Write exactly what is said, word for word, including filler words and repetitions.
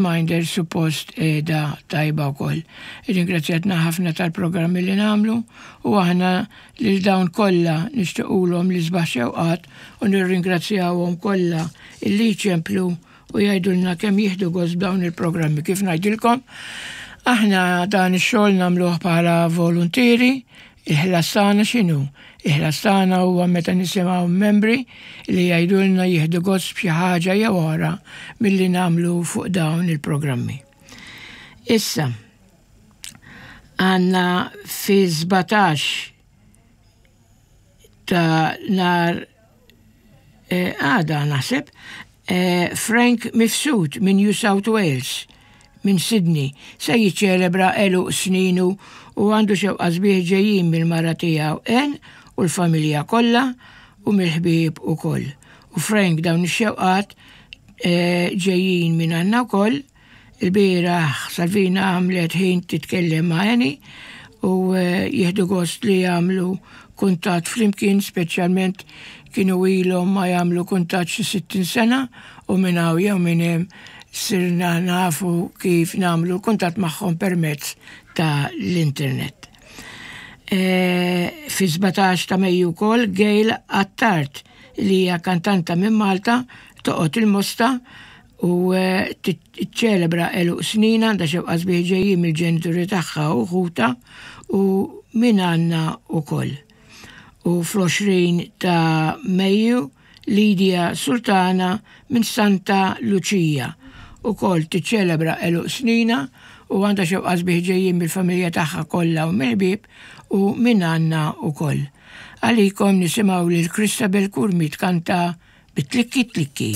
Reminder suppost qiegħda tajba wkoll. Irringrazzjatna ħafna tal-programmi li nagħmlu u aħna lil dawn kollha nixtiequlhom l-isbaħ xewqat u nirringrazzjawhom kollha illi jċemplu u jgħidulna kemm jieħdu gost b'dawn il-programmi. Kif ngħidilkom, aħna dan ix-xogħol nagħmluh bħala voluntieri. Il-ħlas tagħna x'inhu? Il-ħlas tagħna huwa meta nisimgħu membri li jgħidulna jieħdu gost b'xi ħaġa jew oħra milli nagħmlu fuq dawn il-programmi. Issa, għandna fi sbatax ta' nhar eh, għada naħseb, eh, Frank Mifsud minn New South Wales, minn Sydney, se jiċċelebra għeluq sninu u għandu xewqa sbieħ ġejjin mill-mara tiegħu Ann u l-familja kollha u mill-ħbieb ukoll. U Frank, dawn ix-xewqat eh, ġejjin minn għandna wkoll. Il-bieraħ Salvina għamlet ħin titkellem ma' Annie u eh, jieħdu gost li jagħmlu kuntatt flimkien, speċjalment kienu ilhom ma jagħmlu kuntatt xi sittin sena u minn hawn jew minn hemm sirna nafu kif nagħmlu kuntatt magħhom permezz ta' l-internet. E, fi sbatax ta' Mejju wkoll Gail Attard, li hija kantanta minn Malta, toqgħod il-Mosta u eh, tiċċelebra għeluq snina, għandha xewqa sbieħ ġejjin mill-ġenituri tagħha u ħuta u minn għandna ukoll. U fl-għoxrin ta' Mejju Lydia Sultana minn Santa Lucia ukoll tiċċelebra għeluq snina u għandha xewqa sbieħ ġejjin mill-familja tagħha kollha u mill-ħbieb u minn għandna ukoll. Għalikom nisimgħu lil Christabel Curmi tkanta bit-tlikki tlikki.